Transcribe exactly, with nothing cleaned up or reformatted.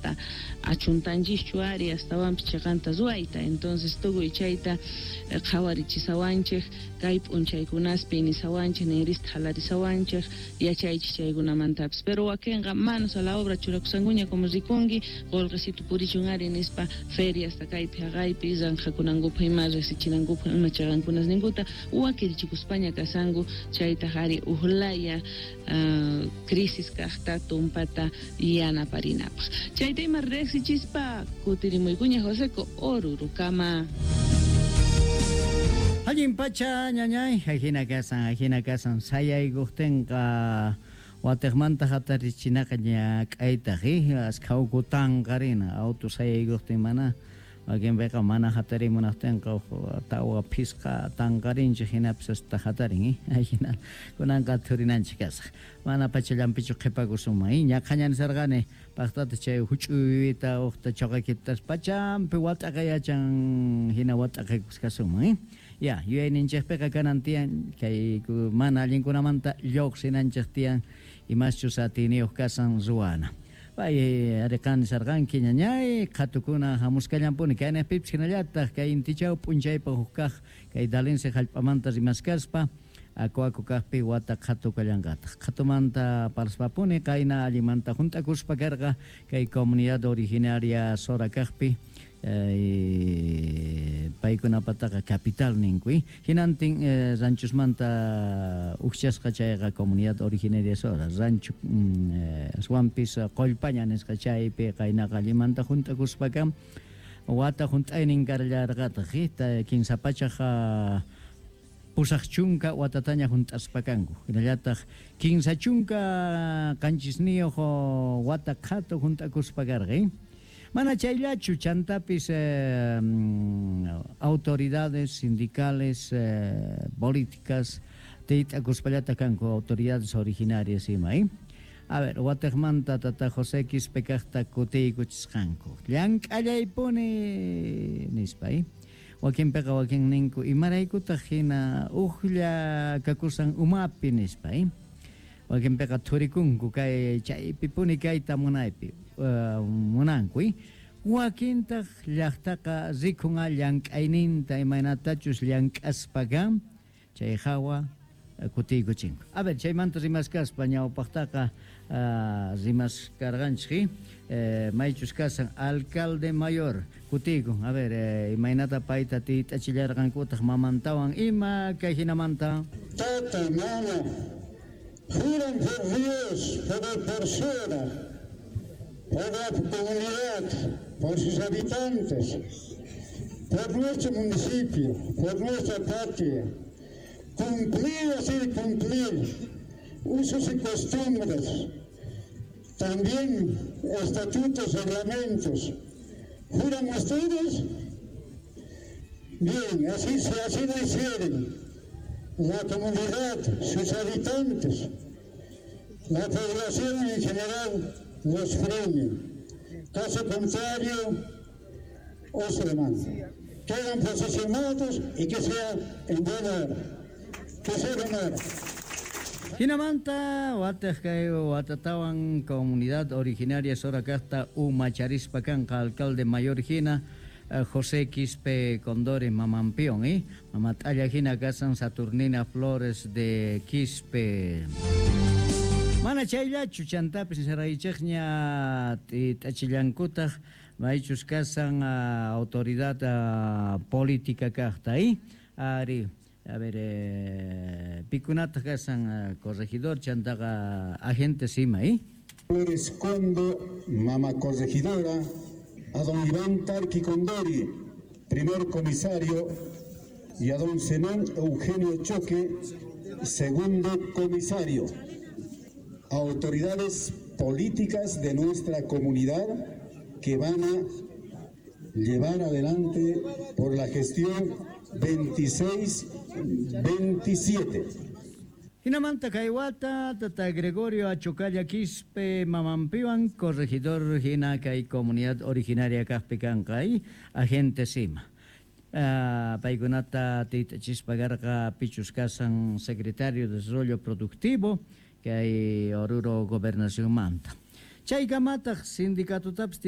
Manata achuntanchischu ari astawanpis chiqanta ruwayta. Entonces tukuy chayta qhawarichisawanchik kay p'unchaykunaspi nisawanchik, ninrista halarisawanchik, yachaychik chaykunamantapis. Pero wakinqa manos a la obra churakusankuña, como rikunki, qullqisitu purichun ari nispa feriasta kaypi haqaypi ranqhakunankupaq ima riqsichinankupaq ima chiqankunasninkuta wakirichikuspaña kasanku. Chaytaq ari uqlaya crisis kaqta tumpata yanaparinapaq. Chayta ima riqsichispa kutirimuykuña Joseco Orurukama. Allin pacha ñañay, ajina kasan, ajina kasan, sayaykuqtinqa watiqmanta hatarichinaqa ñak'aytaq, askha uku tanqarina, auto sayaykuqtin mana wakinpiqa mana hatarimunaqtinqa tawa phisqa tanqarinchik hinapis hasta hatarin, ajina kunanqa thurinanchik kasaq. Mana pachallanpichu qhipakusunman, ñaqhaña nisarqani paqtata chay huch'uyta uqta choqakitas pachampi wat'aqa yachan hina wat'aqaykuskasunman, ya yuyayninchikpiqa kanan tiyan kay mana allinkunamanta lluqsinanchik tiyan imaschus atiyniyuq kasan ruwana. Pay ariqan nisarqanki ñañay qhatukuna hamuskallanpuni kaynaqpipis hinallataq kay intichaw p'unchaypaq huk kaq kay Dalense hallp'amanta rimaskaspa aku aku kaqpi wata qhatu kallanqataq. Qhatumanta parlaspapuni qayna allinmanta hunt'akuspa karqa kay comunidad originaria Sora kaqpi paykunapataqa capital ninku, hinantin ranchosmanta ukchasqa chayqa comunidad originaria Sora rancho aswanpis Qollpaña nisqa chaypi qaynaqa allinmanta hunt'akuspa kan wata hunt'aynin karallarqataq kinsa pachaq pusaq chunka watataña hunt'aspa kanku hinallataq kinsa chunka qanchisniyuq wata qhatu hunt'akuspa karqa. Mana chayllachu chantapis eh, autoridades sindicales eh, políticas tiyt'akuspallata kanku autoridades originarias ima, eh? A ver, watiqmanta tata José Quispe kaqta kutiykuchisqanku llank'allaypuni nispa, eh? Wakinpiqa wakin ninku imaraykutaq hina uqlla kakusan umapi nispa, eh? Wakinpiqa thurikunku kay chaypipuni kayta munaypi uh, munanku, eh? Wakintaq llaqtaqa rikun llank'ayninta imaynatachus llank'aspa kan chay hawa kutiykuchinku. A ver, chaymanta rimaskaspa ñawpaqtaqa uh, rimaskarqanchik, eh, maychus kasan alcalde mayor kutiykun. A ver, eh, imaynata payta tiyt'achillarqankutaq mamantawan ima kay hinamanta. Tata, mama, juran por Dios, por el persona, por la comunidad, por sus habitantes, por nuestro municipio, por nuestra patria, cumplir, hacer cumplir usos y costumbres, también estatutos, reglamentos. ¿Juran ustedes? Bien, así, así lo hicieron. La comunidad, sus habitantes, la población en general los premia. Caso contrario, os demanda. Quedan posesionados y que sea en buena hora. Que sea buena hora. Hinamanta wataq kay watatawan comunidad originaria Sora kaqta umacharispa kanqa alcalde mayor hina José Quispe Condori Mamampión, ¿eh? Mamat'alla hina kasan Saturnina Flores de Quispe. Mana chayllachu chantapis nisaraychikña t'achillankutaq maychus kasan autoridad política kaqta, ¿eh? Ari, a ver, eh, pikunataq kasan corregidor chantaqa agente sima, ¿eh? Flores Condo, mama corregidora, a don Iván Tarqui Condori, primer comisario, y a don Zenón Eugenio Choque, segundo comisario. Autoridades políticas de nuestra comunidad que van a llevar adelante por la gestión veintiséis veintisiete. Hinamanta kaywata, tata Gregorio Achocalla Quispe Mamampiwan, corregidor hina kay comunidad originaria kaqpi kanqa, agente sima. Uh, paykunata tiyt'achispa karqa pichus kasan secretario de Desarrollo Productivo kay Oruro Gobernación manta. Chaykamataq sindicatotapis